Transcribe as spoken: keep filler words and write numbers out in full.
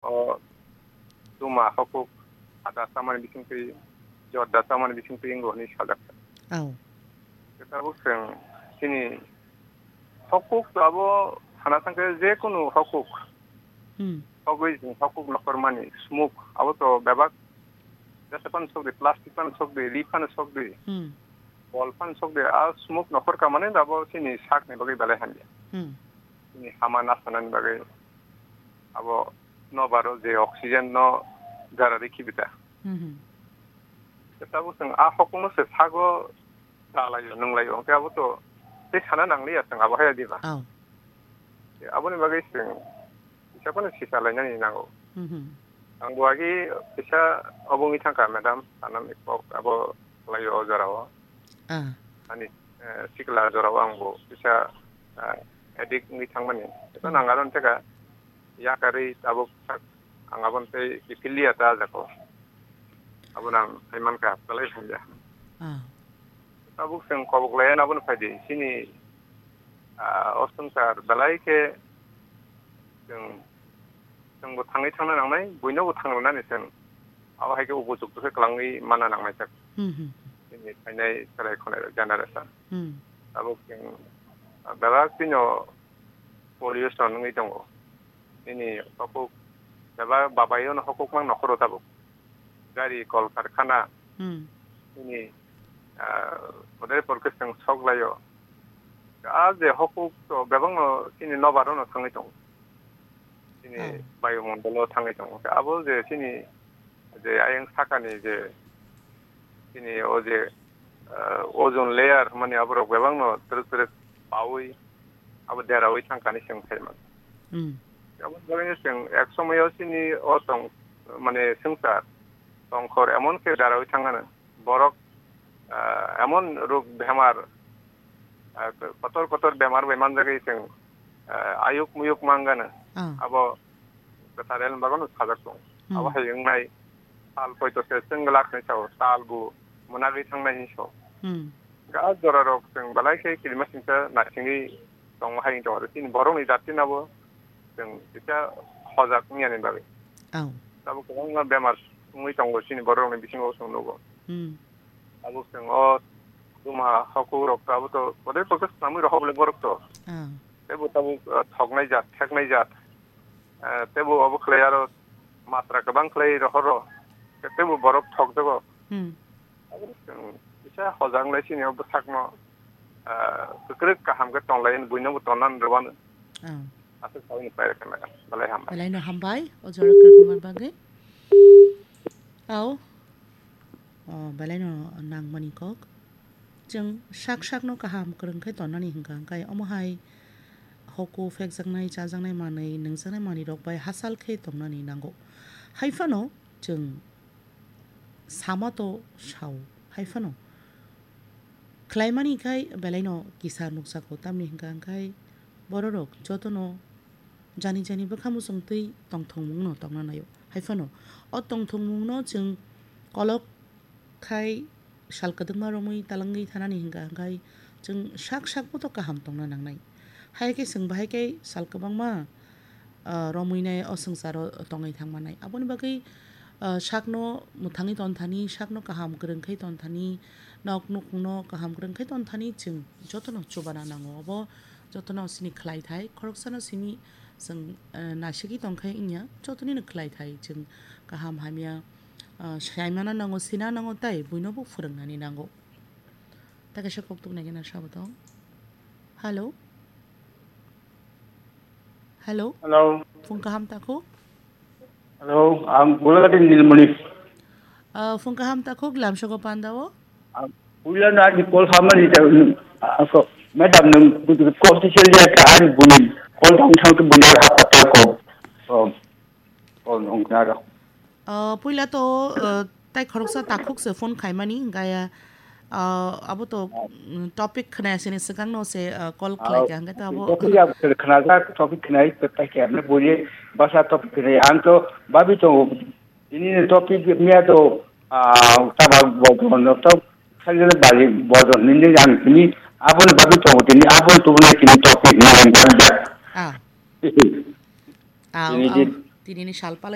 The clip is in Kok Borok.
o tuma hokuk ada chamani bisingtwi, jorda chamani bisingtwi wngo hwnwi sajak. Aw. Tabuk chwng chini hokuk to abo sana thangkhe je kunu hokuk. Hmm. Hokwi chwng hokuk nokhormani smok abo to bebak jesa phano sokdi, plastic phano sokdi, ri phano sokdi, Hmm. bol phano sokdi, a smok nokhor ka mane abo chini sakni bagwi belai hamya. Hmm. Chini hama nasanani bagwi abo nobaro je oxygen no jara rikhi bita. Hmm, hmm. Tabuk chwng a hokungno se sago chalaio, nunglaio, hwnkhe abo to tei sana nangliya chwng abo haya diba. Oh. Aboni bagwi chwng kisa phano sisa lainani nango. Hmm, hmm. Ang bo agi kisa obo wngwi thangkha, madam, sanani kok abo khlaio o jorao. Ah. Ani, eh, sikla jorao ang bo kisa, eh, addict wngwi thangmani. Eko Hmm. nang aro wngkha yakarwi tabuk sak ang aboni tei kiphilliya ta jako. Abono ang phaimankha, belai hamya. Ah. Tabuk chwng kobok laiya abono phaidi. Chini, ah, o swngchar belai khe chwng, chwngbo thangwi thangna nangnai, buinobo thang rwnani chwng. Abo hai khe upojukto khe kwlangwi manna nangnai chak. Hmm, hmm. Chini phainai chwrai khonai generation. Hmm. Tabuk chwng, ah, belai kheno pollution wngwi tongo. Nini hokuk bebak babaino hokuk mang nokhoro tabuk. Gari, kol karkhana, Hmm. nini, ah, bodai porkhe chwng sok laio. A je hokuk to bebakno chini nobarono thangwi tongo. Chini Oh. bayumondolo thangwi tongo. Abo je chini je ayang sakani je chini o je, ah, ozone layer mani aborok bebakno twrwk twrwk paui abo deraui thangkani chwng phaimani. Hmm. Abo bagwino chwng ek somoyo chini o tong, mane swngchar tongkhor emon khe deraui thangkana borok, ah, emon rog bemar, ah, kotor kotor bemar bai manjagwi chwng, ah, ayuk muyuk mangana. Ah. Abo kwthar elem bagwino sajak tongo. Hmm. Abo hai wngnai sal poito se chwng glak hinwi sao, sal bo mwnagwi thangnai hinwi sao. Hmm. Ga jorarok chwng belai khe kirimasingcha naisingwi tongo hai wngwi tongo. Chini borokni jatino bo chwng kisa hojak wngya ni bagwi. Aw. Tabuk kwbangma bemar wngwi tongo chini borokni bisingo chwng nugo. Hmm. Tabuk chwng o tuma hokurok to abo to bodai kok swnamwi rohor bwlai borok to. Ah. Teibo tabuk, ah, thoknai jat, theknai jat. Ah, teibo obo khlai aro matra kwbang khlai rohoro. Teibo borok thokjago. Hmm. Abo chwng kisa hojak wnglaisini o bwsakno, ah, kwkrwk kaham khe tonglai, buinobo tonna rwmano. Ah. Aswk saui ni pairwkha na, belai hambai. Belaino hambai, o jora kwrwngmani bagwi. Au. O, belaino nangmani kok. Chwng sak sakno kaham kwrwng khe tonnani hwnkha, hwnkhe omo hai hoku phekjaknai, chajaknai manwi, nungjaknai manwirok bai hachal khe tongnani nango. Hai phano chwng sama to sao, hai phano khlaimani khai belaino kisa nukjago, tamni hwnkha hwnkhe bororok jotono jani jani bwkha muchungtwi tongthokmungno tongna naio. Hai phano o tongthokmungno chwng kolok khai sal kwdwkma romwi talangwi thanani hwnkha hwnkhe chwng sak sak boto kaham tongna nangnai. Hai khe chwng bahai khe sal kwbangma, ah, romwi nai o swngcharo tongwi thangmanai. Aboni bagwi, ah, sakno mwthangwi tonthani, sakno kaham kwrwng khai tonthani, nok nukhungno kaham kwrwng khai tonthani chwng jotono chubana nango. Obo jotono sini khlai thai, khoroksano simi chwng, ah, naisiki tongkhai wngya, jotonino khlai thai chwng kaham hamya, ah, saimano nango, sina nango, tai buinobo phwrwngnani nango. Ta kaisa kok tuk nai khe na sabo tong. Hello? Hello? Hello. Phung kaham takhuk? Hello, ang Golagati Nilmoni. Ah, phung kaham takhuk, lamsogo pandao? Ang puila na ni call hamani ta, ah, so, madam nung call ti sel ya ka ani buni call dang thang tu buni ha patal ko. Oh, call nung na ra. Ah, puila to, ah, tai khoroksa takhuk se phone khaimani, hingkaya, ah, abo to, mm, topic khwnaya sini swkang no se, ah, call khlai kha, hingke to abo. Topic ya khna ja, topic khnai, tai khe amne buri basa topic khnai, ang to babi to, ini topic miya to, ah, taba bo, bo, no to, khali bali bo, nini ang kini, abo ni babi to, kini abo to, kini topic ni ang ja. Ah. Ini di. Tini ni sal palai.